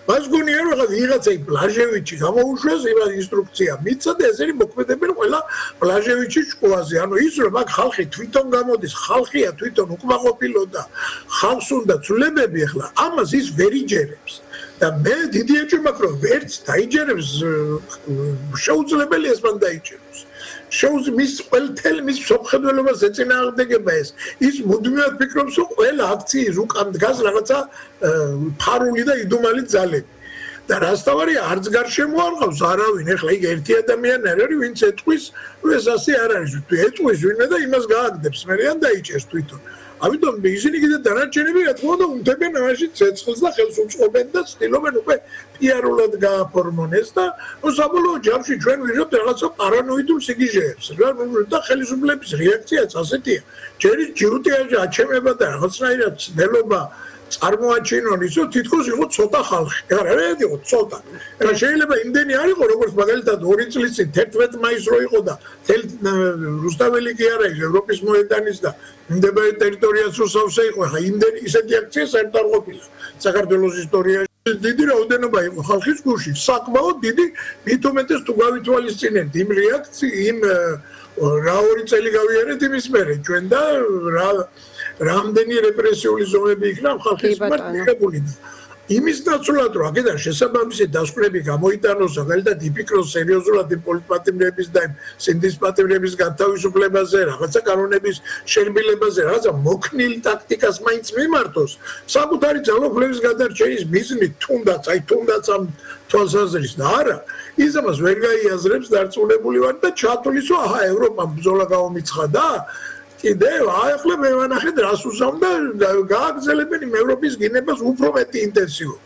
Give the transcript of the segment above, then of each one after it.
მას გონია რომ ხა ვიღაცა პლაჟევიჩი გამოუშვეს იმას ინსტრუქცია მიცა და ესენი მოქმედებენ ყველა პლაჟევიჩის შკოლაზე. ანუ ის რომ აქ ხალხი თვითონ გამოდის, ხალხია თვითონ უკმაყოფილო და ხალხს უნდა ცვლილებები ახლა ამას ის ვერ იჯერებს. და მე დიდი ეჭვი მაქვს რომ ვერც დაიჯერებს შეუძლებელი ეს მან დაიჯეროს. მის ყველთელ მის სოფხედველობას ეწინააღმდეგება ეს. ის მუდმივად ფიქრობს რომ ყველა აქციის უკან დგას რაღაცა ფარული და იდუმალი ძალები. და რასთავარია არც გარშემო არ ყავს არავინ. ეხლა იქ ერთი ადამიანი არ არის ვინც ეტყვის ეს ასე არ არის. ეტყვის ვინმე და იმას გააგდებს მერეან დაიჭერს თვითონ. ამიტომ ისინი კიდე დანარჩენები რა თქმა უნდა უნდებენ ამაში ცეცხლს და ხელს უწყობენ და ცდილობენ უკვე პიარულად გააფორმონ ეს და საბოლოო ჯამში ჩვენ ვიღებთ რაღაცა პარანოიდულ სიგიჟეებს და ხელისუფლების რეაქციაც ასეთია. ჯერი ჯიუტია აჩემება და რაღაცნაირად ცდელობა წარმოაჩინონ ისო თითქოს იყო ცოტა ხალხი. ეხლა რა იყო ცოტა. ეხლა შეიძლება იმდენი არ იყო როგორც მაგალითად 2 წლის წინ 11 მაისს რო იყო და რუსთაველი კი არა ის ევროპის მოედანის და მიმდებარე ტერიტორიას რო სავსე იყო. ეხლა იმდენი ისეთი აქცია საერთოდ არ ყოფილა საქართველოს ისტორიაში. დიდი რაოდენობა იყო ხალხის გულში. საკმაოდ დიდი, მით უმეტეს თუ გავითვალისწინებთ იმ იმ რა 2 წელი გავიარეთ იმის მერე ჩვენ და რამდენი რეპრესიული ზომები იქნა ხალხის მიმართ მიღებული და იმის ნაცვლად რომ აქედან შესაბამისი დასკვნები გამოიტანოს მაგალითად იფიქროს სერიოზულად იმ პოლიტპატიმრების და იმ სინდის პატიმრების განთავისუფლებაზე, რაღაცა კანონების შერბილებაზე, რაღაცა მოქნილ ტაქტიკას მაინც მიმართოს საკუთარი ძალაუფლების გადარჩენის მიზნით თუნდაც ამ თვალსაზრისით და არა ის ამას ვერ გაიაზრებს დარწმუნებული ვარ და ჩათვლის რომ აჰა ევროპამ ბრძოლა გაომიცხადა კიდევ ახლა მე ვანახეთ რას უსამდა გააგრძელებენ იმ ევროპის გინებას უფრო მეტი ინტენსიურად.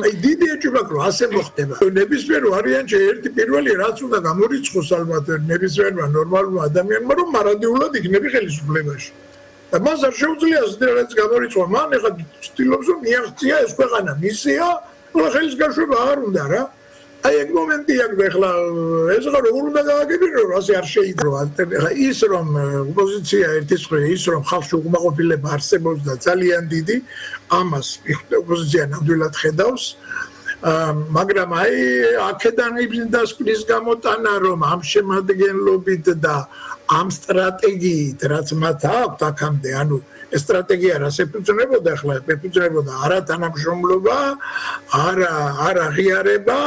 აი დიდი ეჭვი მაქვს რომ ასე მოხდება. ნებისმიერ ვარიანტში ერთი პირველი რაც უნდა გამორიცხოს ალბათ ნებისმიერმა ნორმალურმა ადამიანმა რომ მარადიულად იქნები ხელისუფლებაში. და მას არ შეუძლია ზედაც გამორიცხვა. მან ეხლა ცდილობს რომ მიაღწია ეს ქვეყანა მისია, ყველა ხელის გაშვება არ უნდა რა. აი ეგ მომენტი აქვს ეხლა ეს როგორ უნდა გააგებინო რომ ასე არ შეიძლება ახლა ის რომ ოპოზიცია ერთის მხრივ ის რომ ხალხში უკმაყოფილება არსებობს და ძალიან დიდი ამას ოპოზიცია ნამდვილად ხედავს მაგრამ აი აქედან დასკვნის გამოტანა რომ ამ შემადგენლობით და ამ სტრატეგიით რაც მათ აქვთ აქამდე ანუ ეს სტრატეგია რას ეფუძნებოდა ახლა ეფუძნებოდა არა თანამშრომლობა არა აღიარება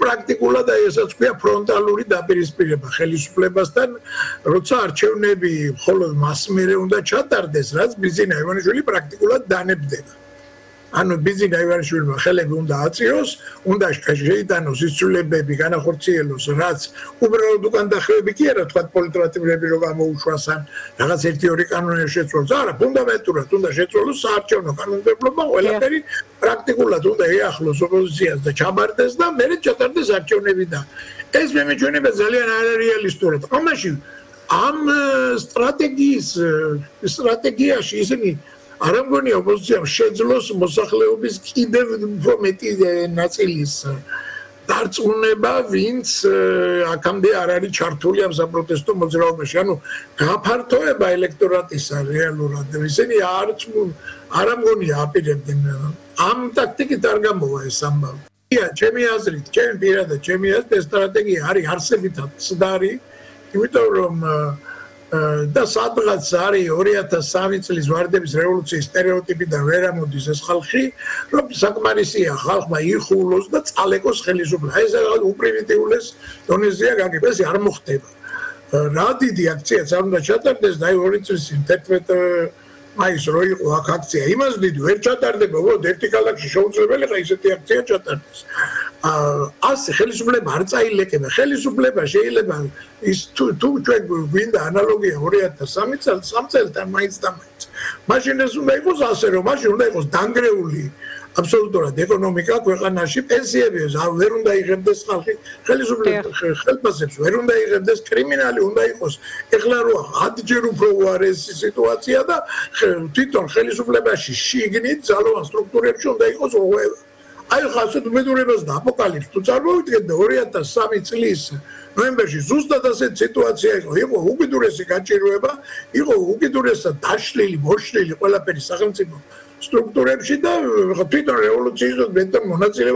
პრაქტიკულად აი ესაც ქვია ფრონტალური დაპირისპირება ხელისუფლებასთან როცა არჩევნები მხოლოდ მას მერე უნდა ჩატარდეს რაც ბიზინა ივანიშვილი პრაქტიკულად დანებდება ანუ ბიზინა ივანიშვილმა ხელები უნდა აწიოს უნდა შეიტანოს ის ცვლილებები განახორციელოს რაც უბრალოდ უკან დახვეები კი არა თქვა პოლიტპატიმრები რო გამოუშვას ან რაღაც 1-2 კანონი შეცვალოს არა ფუნდამენტურად უნდა შეცვალოს საარჩევნო კანონმდებლობა ყველაფერი პრაქტიკულად უნდა ეახლოს ოპოზიციას და ჩაბარდეს და მერე ჩატარდეს არჩევნები და ეს მე მეჩვენება ძალიან არარეალისტურად ამაში ამ სტრატეგიაში ისინი არ ამგონია ოპოზიციამ შეძლოს მოსახლეობის კიდევ უფრო მეტი ნაწილის დარწმუნება, ვინც აქამდე არ არის ჩართული ამ საპროტესტო მოძრაობაში. ანუ გაფართოება ელექტორატისა რეალურად ისინი არ ამგონია აპირებდნენ ამ ტაქტიკით არ გამოვა ეს ამბავი. ჩემი აზრით, ჩემი აზრით ეს სტრატეგია არის არსებითად ცდარი, იმიტომ რომ და სადღაც არის 2003 წლის ვარდების რევოლუციის სტერეოტიპიდან ვერ ამოდის ეს ხალხი, რომ საკმარისია ხალხმა იხულოს და წალეკოს ხელისუფლება. ეს უპრიმიტიულეს დონეზეა გაგება, ეს არ მოხდება. რა დიდი აქციაც არ უნდა ჩატარდეს და 2 წლის წინ 11 მაისს რო იყო აქ აქცია, იმას დიდი ვერ ჩატარდება, უბრალოდ ერთი ქალაქში შეუძლებელი ხა ისეთი აქცია ჩატარდეს. ასე ხელისუფლება არ წაილეკება. ხელისუფლება შეიძლება ის თუ ჩვენ გვინდა ანალოგია 2003 წელს 3 წელთან მაინც და მაინც. მაშინ ეს უნდა იყოს ასე რომ მაშინ უნდა იყოს დანგრეული აბსოლუტურად ეკონომიკა ქვეყანაში, პენსიები ვერ უნდა იღებდეს ხალხი, ხელისუფლება ხელფასებს ვერ უნდა იღებდეს, კრიმინალი უნდა იყოს. ეხლა რო 10ჯერ უფრო უარესი სიტუაცია და თვითონ ხელისუფლებაში შიგნით ძალოვან სტრუქტურებში უნდა იყოს რღვევა. აი ხა ასეთ უბედურებას და აპოკალიფს თუ წარმოვიდგეთ და 2003 წლის ნოემბერში ზუსტად ასეთ სიტუაცია იყო უკიდურესი გაჭირვება, იყო უკიდურესად დაშლილი, მოშლილი ყველაფერი სახელმწიფო სტრუქტურებში და თვითონ რევოლუციის მონაწილეობა